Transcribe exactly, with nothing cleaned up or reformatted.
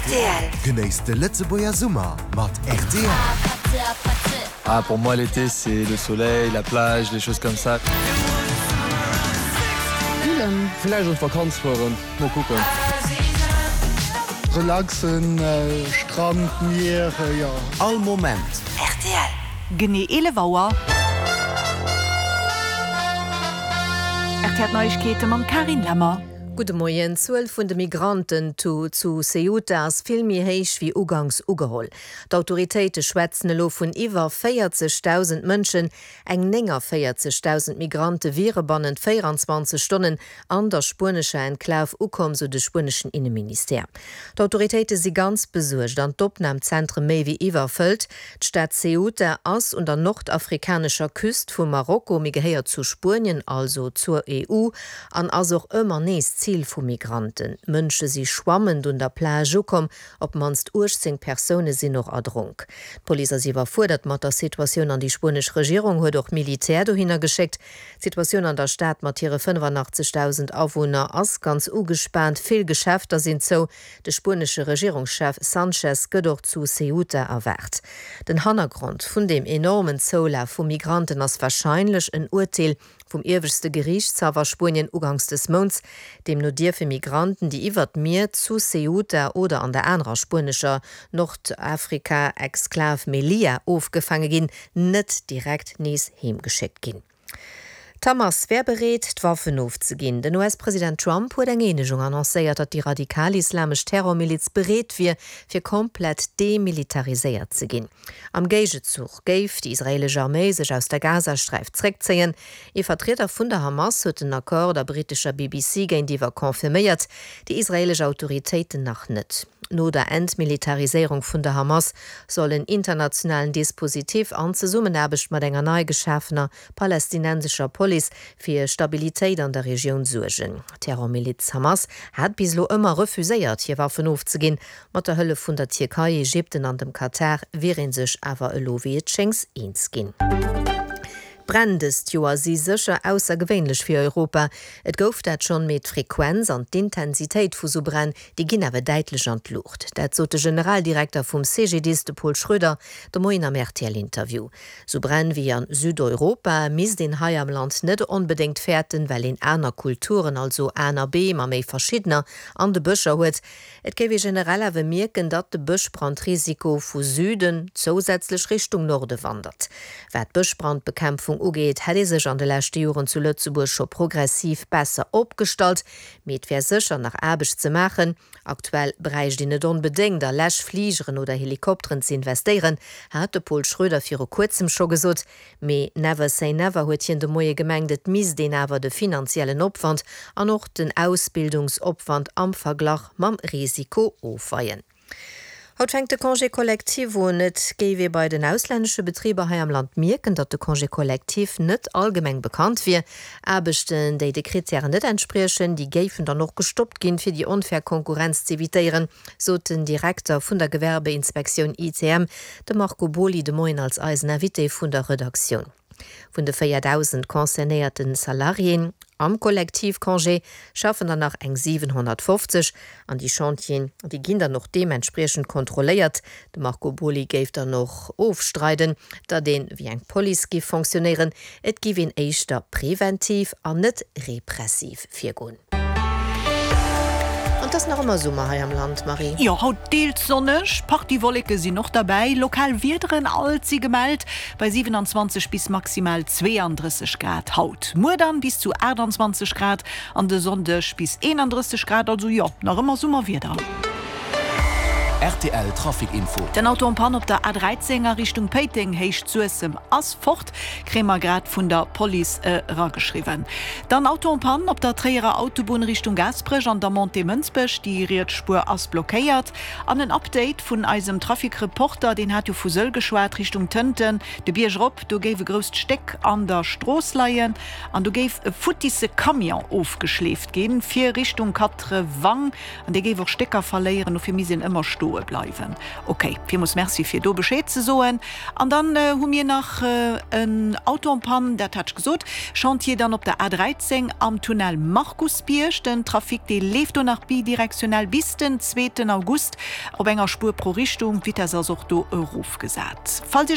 Rtl. Genéisst de Lëtzebuerger Summer mat rtl. Ah, pour moi, l'été, c'est le soleil, la plage, les choses comme ça. Chillen. Vläicht an d'Vakanz fueren, mol kucken. Relaxen, Strand, Mier, jo. All Moment. Rtl. Genee eelef Auer. Rtl Neiegkeete mam Carine Lemmer. Gudde Moien. D'Zuel vun de Migranten zu zu Ceuta ass vill méi héich wéi uganks ugeholl. D'Autoritéite schwätzen elo vun iwwer véierzegdausend Mënschen. Eng néngavéierzegdausend Migrante wiere bannent véieranzwanzeg Stonnen an der spuenescher Enklav ukomm, sou de spueneschen Inneministère. D'Autoritéite si ganz besuergt an d'Opnamzentre méi wéi iwwerfëllt. D'Stad Ceuta ass un der nordafrikanescher Küst vu Marokko, mee gehéiert zu Spuenien, also zur E U, an ass och ëmmer nees Zil vu Migranten. Mënsche si schwammend un der Plage ukomm, op d'mannst uechtzéng Persoune sinn och erdronk. D'Police ass iwwerfuerdert mat der Situatioun an déi spuenesch Regierung huet och Militär dohinner geschéckt. D'Situatioun an der Stad mat hire fënnefanachtzeghdausend Awunner ass ganz ugespaant, vill Geschäfter sinn zou. De spuenesche Regierungschef Sanchez gëtt och zu Ceuta erwaart. Den Hannergrond vun deem enormen Zoulaf vu Migranten ass warscheinlech en Urteel vum ieweschte Geriichtshaff a Spuenien uganks des Mounts. Deemno dierfe Migranten, déi iwwert d'Mier zu Ceuta oder an der anerer spuenescher Nordafrika-Exklav Melilla ofgefaange ginn, net direkt nees heemgeschéckt ginn. D'Hamas wär bereet, d'Waffen ofzeginn. Den U S-President Trump huet eng Eenegung annoncéiert, datt déi radikal-islamesch Terrormiliz bereet wier, fir komplett demilitariséiert ze ginn. Am Géigezuch géif déi israeelesch Arméi sech aus der Gazasträif zréckzéien. Ee Vertrieder vun der Hamas huet den Accord der brittescher B B C géintiwwer confirméiert, déi israeelesch Autoritéiten nach net. No der Entmilitariséierung vun der Hamas soll en internationalen Dispositif an Zesummenaarbecht mat enger nei geschafener palästinensescher Police fir Stabilitéit an der Regioun suergen. D'Terrormiliz Hamas hat bis elo ëmmer refuséiert, hir Waffen ofzeginn. Mat der Hëllef vun der Tierkei, Ägypten an dem Katar wier ee sech awer elo wéi et schéngt eens ginn. D'Bränn dëst Joer si sécher aussergewéinlech fir Europa. Et gouf dat schonn, mee d'Frequenz an d'Intensitéit vu sou Bränn, déi ginn awer däitlech an d'Luucht. Dat sot de Generaldirekter vum C G D I S, de Paul Schroeder, de Moien am R T L-Interview. Sou Bränn wéi a Südeuropa misst een hei am Land net onbedéngt fäerten, well een aner Kulturen, also aner Beem a méi verschiddener an de Bëscher huet. Et géif ee generell awer mierken, datt de Bëschbrandrisiko vu Süden zousätzlech Richtung Norde wandert. Wat d'Bëschbrandbekämpfung ugeet, hätt ee sech an de leschte Joren zu Lëtzebuerg scho progressiv besser opgestallt, mee et wär sécher nach Aarbecht ze maachen. Aktuell bräicht een net onbedéngt a Läschfligeren oder Helikopteren ze investéieren, hat de Paul Schroeder viru kuerzem scho gesot. Mee never say never, huet hien de Moie gemengt, et misst een awer de finanziellen Opwand an och den Ausbildungsopwand am Verglach mam Risiko ofweien. Haut fänkt de Congé collectif un. Et géif ee bei den auslännesche Betriber hei am Land mierken, datt de Congé collectif net allgemeng bekannt wier. Aarbechten, déi de Krittären net entspriechen, déi géifen dann och gestoppt ginn, fir déi onfair Konkurrenz z'evitéieren, sot den Direkter vun der Gewerbeinspektioun I C M, de Marco Boly, de Moien als eisen Invité vun der Redaktioun. Vun de véierdausend concernéierte Salariéen am Kollektivcongé schaffen der nach eng siwenhonnertfofzeg an déi Chantieren, déi ginn dann och deementspriechend kontrolléiert. De Marco Boly géif dann och ofstreiden, datt een wéi eng Police géif fonctionnéieren, et géif een éischter preventiv an net repressiv virgoen. An et ass nach ëmmer Summer hei am Land, Marie. Jo, haut deels sonneg, Partie Wolleke sinn och derbäi, lokal Wiederen alt si gemellt, bei siewenundzwanzeg bis maximal zweeandrësseg Grad haut. Muer dann bis zu aachtandzwanzeg Grad an de Sonndeg bis eenandrësseg Grad, also jo, nach ëmmer Summerwieder. R T L Trafic Info. Den Auto en panne op der A dräizéng a Richtung Péiteng, Héicht Suessem, ass fort, kréie mer grad vun der Police erageschriwwen. Dann Auto en panne op der Tréierer Autobunn Richtung Gaasperech an der Montée Mënsbech, déi riets Spuer ass blockéiert. An en Update vun eisem Trafic-Reporter, deen hat jo vu Sëll geschwat, Richtung Tënten, de Bierg erop, do géif e grousst Stéck an der Strooss leien an do géif e futtisse Camion ofgeschleeft ginn, fir Richtung Quatre Wang an dee géif och Stécker verléieren, dofir misst een ëmmer stoe. stoe bleiwen. Ok, villmools Merci fir do Bescheed ze soen. An dann hu mir nach en Auto en panne, dat hat ech gesot, Chantier dann op der A dräizéng am Tunnel Markusbierg. Den Trafic dee leeft do nach bidirektionell bis den zweeten August op enger Spuer pro Richtung. D'Vitess ass och do erofgesat. Falls Iech.